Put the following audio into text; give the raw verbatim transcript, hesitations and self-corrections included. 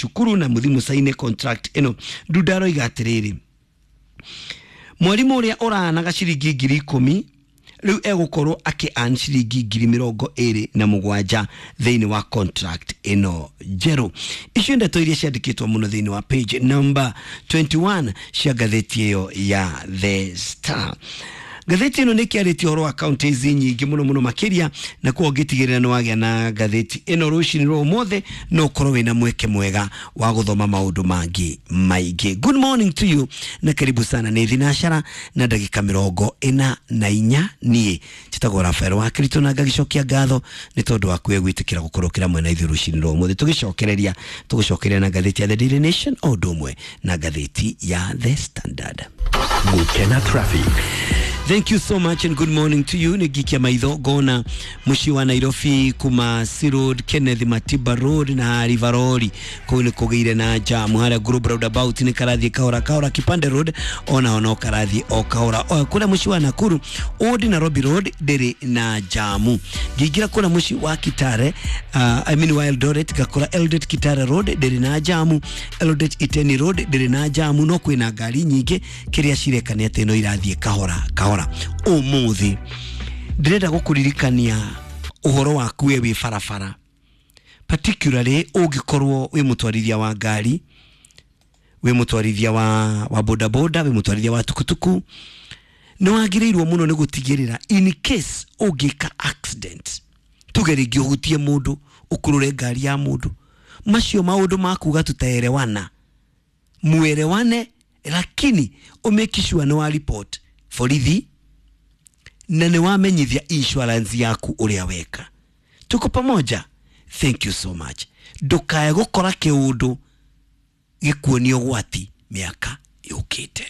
Cukuru na muthi musaine contract ĩno. Ndunda aroiga atĩrĩrĩ, mwarimu ũrĩa ũranaga ciringi ngiri ikũmi rĩu egũkorwo akĩ earn ciringi ngiri mĩrongo ĩrĩ na mũgwanja thĩinĩ wa contract ĩno njerũ. Icio ndeto iria ciandĩkĩtwo mũno thĩinĩ wa page number twenty-one cia ngathĩti ĩyo ya The Star. Ngathĩti ĩno nĩ ĩkĩarĩtie ũhoro wa counties nyingĩ mũno mũno makĩria, na koguo ũngĩtigĩrĩra nĩ wagĩa na ngathĩti ĩno rũcinĩ rwa ũmũthĩ, no ũkorwo wĩna mweke mwega wa gũthoma maũndũ mangĩ maingĩ. Good morning to you na karibu sana. Nĩ thinacara na ndagĩka mĩrongo ĩna na inya. Niĩ njĩtagwo Rafael wa Kirito na ngagĩcokia ngatho nĩ tondũ wa kuwe gwĩtĩkĩra gũkorwo kĩra mwena ithuĩ rũcinĩ rwa ũmũthĩ. Tũgĩcokereria tũgũcokereria na ngathĩti ya The Daily Nation o ũndũ ũmwe na ngathĩti ya The Standard. Gukena traffic. Thank you so much and good morning to you. Nĩ ngikia maitho ngona mũciĩ wa Nairobi kuma C Road, Kenneth Matiba Road na River Road, kũu nĩ kũgĩire na jam. Harĩa Group Roundabout nĩ karathiĩ kahora kahora. Kipande Road onaho no karathiĩ o kahora. O kũrĩa mũciĩ wa Nakuru, Old Nairobi Road ndĩrĩ na jamu. Ngĩingĩra kũrĩa mũciĩ wa Kitale, uh, I mean wa Eldoret, ngakora Eldoret Kitale Road ndĩrĩ na jamu, Eldoret Iten Road ndĩrĩ na jamu, no kwĩna ngari nyingĩ. Kĩrĩa cireka nĩ atĩ no irathiĩ kahora kahora. Ũmũthĩ ndĩrenda gũkũririkania ũhoro waku we wĩ barabara, particularly ũngĩkorwo wĩ mũtwarithia wa ngari, wĩ mũtwarithia wa, wa bodaboda, wĩ mũtwarithia wa tukutuku, nĩ wagĩrĩirwo mũno nĩ gũtigĩrĩra in case ũngĩka accident, tuge rĩngĩ ũhutie mũndũ, ũkurure ngari ya mũndũ, macio maũndũ ma kuga tutaelewana, muelewane, lakini ũmake sure nĩ wa report borithi na nĩ wamenyithia insurance yaku ũrĩa weka. Tuko pamoja? Thank you so much. Ndũkae gũkora kĩũndũ gĩkuonia ũgwati mĩaka yũkĩte.